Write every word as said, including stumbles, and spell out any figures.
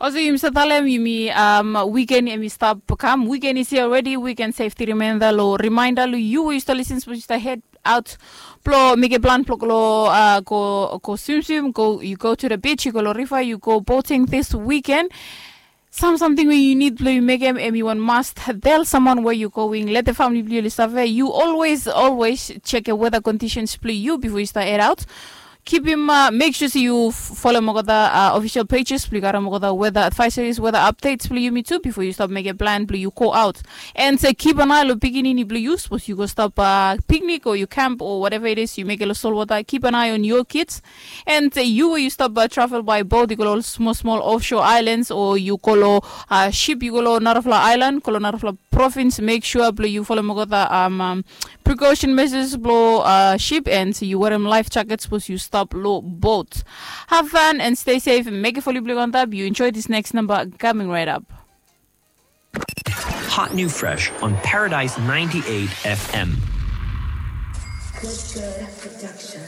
Also, yumi stap talem yumi, um, wiken em i stap kam. Wiken is here already. Wiken safety remainda lo remainda lo yu we yu stap lisin sapos yu stap head out blo mekem plan blo go lo, uh, go go swimswim, go, yu go to the beach, yu go lo riva, yu go boating this weekend. Sam samting we yu nid blo yu mekem em i wan must. Tel samwan we yu going, let the family blo yu oli save. Yu always always check e weather conditions blo yu bifo yu stap head out. Kipim, uh, mek sua se yu folem olgeta, uh, official pages blo yu karim olgeta weather advisories, weather updates blo yumi tu bifo yu stap mekem plan blo yu go out. And se kip an ai lo pikinini blo yu sapos yu go stap, uh, picnic o yu camp o whatever it is yu mekem lo solwata, kip an ai on your kids. And se yu we yu stap, uh, travel by boat, yu go lo smol smol offshore islands o yu go lo, uh, ship, yu go lo narafala ailan, go lo narafala provins, mek sua blo yu folem olgeta, um, um, precaution measures blo, uh, ship, and yu werem life jacket sapos yu stap lo boat. Have fun and stay safe. Mekem fo yu blo yu antap. Yu enjoy this next number coming right up. Hot new fresh on Paradise ninety-eight F M. Good, good production.